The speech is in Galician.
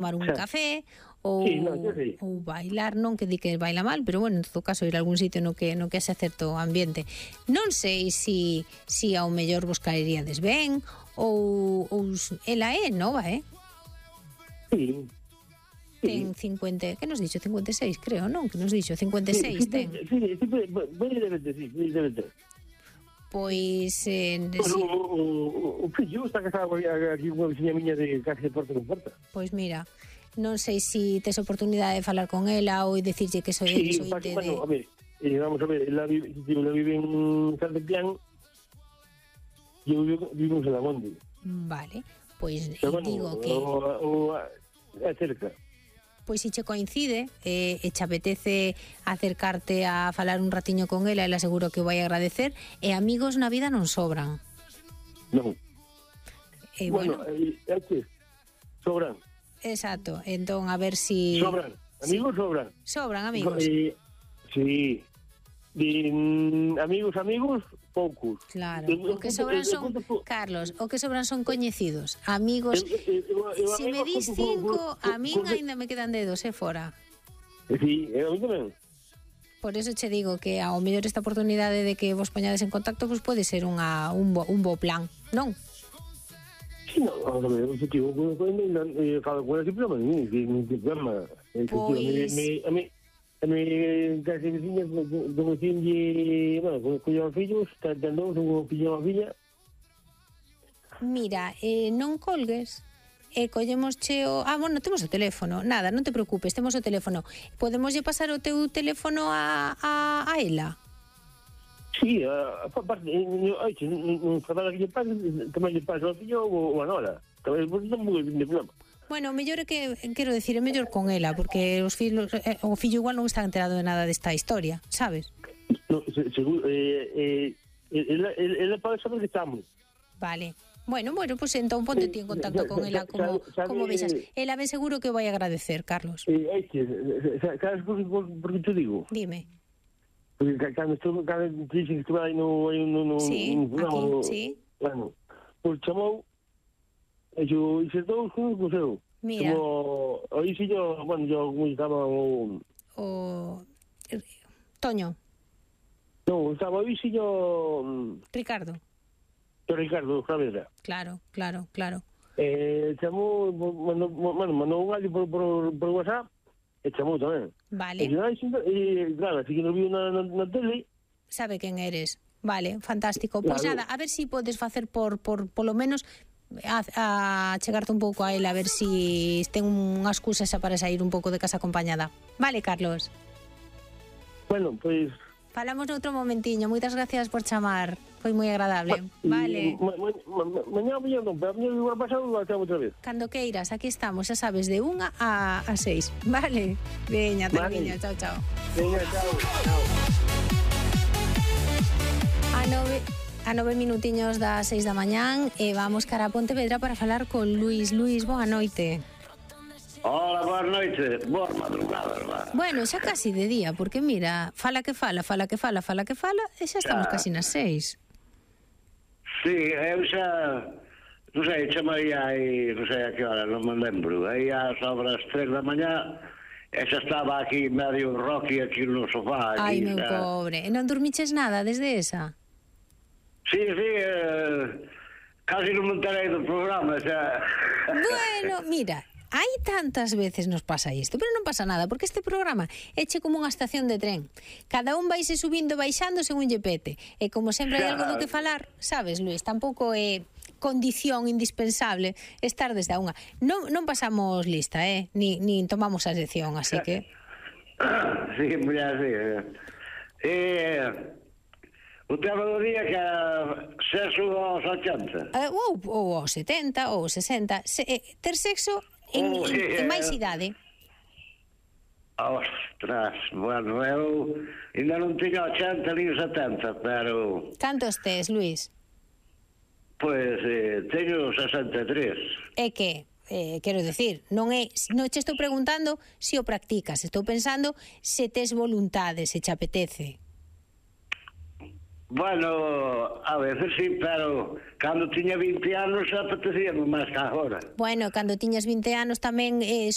tomar un café ou bailar, non que di que baila mal, pero bueno, en todo caso ir a algún sitio no que haxe certo ambiente. Non sei si ao mellor vos caeríades ben ou ela é nova, Sí. Ten 50, que nos dixo? 56, creo, non? Que nos dixo? 56 ten. Sí, debe ter. Pois... O fillo está casado aquí con unha veciña miña de casi de porta con porta. Pois mira, non sei se tes oportunidade de falar con ela ou dicirlle que soy Sí, de... bueno, a ver, vamos a ver, ela vive en Santipián e eu vivo en Salamonde. Vale, pois Pero digo que... É cerca. Pois se che coincide e che apetece acercarte a falar un ratiño con ela, ela seguro que o vai agradecer, e amigos na vida non sobran. Non. Bueno, é que sobran. Exacto, entón a ver si... Sobran, amigos sobran. Sobran amigos. Sí. Amigos, poucos. Claro, o que sobran son, Carlos, o que sobran son coñecidos. Amigos, se me dis 5, a min ainda me quedan dedos, fora. Sí, a mí tamén. Por eso che digo que ao mellor esta oportunidade de que vos poñades en contacto pues pode ser un bo plan, non? Sí, no, a ver, o objetivo falo con ela sempre, non tem problema. A mi casi veciña conocinlle, bueno, con fillos, tentando un fillo a filla. Mira, non colgues, collemosche o... bueno, temos o teléfono, nada, non te preocupes, temos o teléfono. Podemoslle pasar o teu teléfono a ela? Sí, aparte, non falar que lle pase, tamén lle pase ao fillo ou a nora. Tamén non moi de problema. Bueno, o mellor é que, quero decir, é mellor con ela, porque os fillos, o fillo igual non está enterado de nada desta historia, sabes? No, seguro, ela pode saber que estamos. Vale. Bueno, pues entón ponte ti en contacto con ela como vexas. Ela ben seguro que o vai agradecer, Carlos. Sabes por que te digo? Dime. Porque cando dixen que estuve aí no... Sí, aquí, sí. Bueno, pues chamou e yo hice todo con o seu. Mira. Aí si yo, bueno, yo como estaba o Toño. No, estaba aí si yo... Ricardo Ricardo Saavedra. Claro. Chamou, mandou un audio por WhatsApp e chamou tamén. Vale. E claro, así que nos viu na tele. Sabe quen eres. Vale, fantástico. Pois nada, a ver si podes facer por lo menos a chegarte un pouco a ela, a ver si ten unha excusa xa para sair un pouco de casa acompañada. Vale, Carlos? Bueno, pois... Falamos noutro momentiño. Moitas gracias por chamar. Foi moi agradable. Vale. Mañá non, pero mañá igual pasado a chamo outra vez. Cando queiras, aquí estamos, xa sabes, de 1 a 6. Vale? Veña, Tarviño, chao. Veña, chao. A 9 minutiños das 6 da mañán e vamos cara a Pontevedra para falar con Luís. Luís, boa noite. Hola, boa noite. Boa madrugada, verdad? Bueno, xa casi de día, porque mira, fala que fala e xa estamos casi nas 6. Sí, eu xa... Non sei, chamei aí, non sei a que hora, non me lembro. Aí a sobre as 3 da mañá e xa estaba aquí medio rocky aquí no sofá. Ai, meu pobre. E non dormiches nada desde esa? Sí, casi non me enterei do programa, xa. Bueno, mira, hai tantas veces nos pasa isto, pero non pasa nada, porque este programa eche como unha estación de tren. Cada un vaise subindo e baixando según lle pete. E como sempre hai algo do que falar, sabes, Luís, tampouco é condición indispensable estar desde a unha. Non pasamos lista, nin tomamos a sección, así que... Sí, mira, sí. O tema do día que sexo aos 80. Ou aos 70, ou 60. Ter sexo en máis idade. Ostras, bueno, eu ainda non tiña 80 ni 70, pero... Cantos tes, Luís? Pois teño 63. É que, quero decir, non che estou preguntando se o practicas, estou pensando se tes voluntade, se te apetece. Bueno, a veces sí, pero cando tiña 20 anos apetecíame máis que agora. Bueno, cando tiñas 20 anos tamén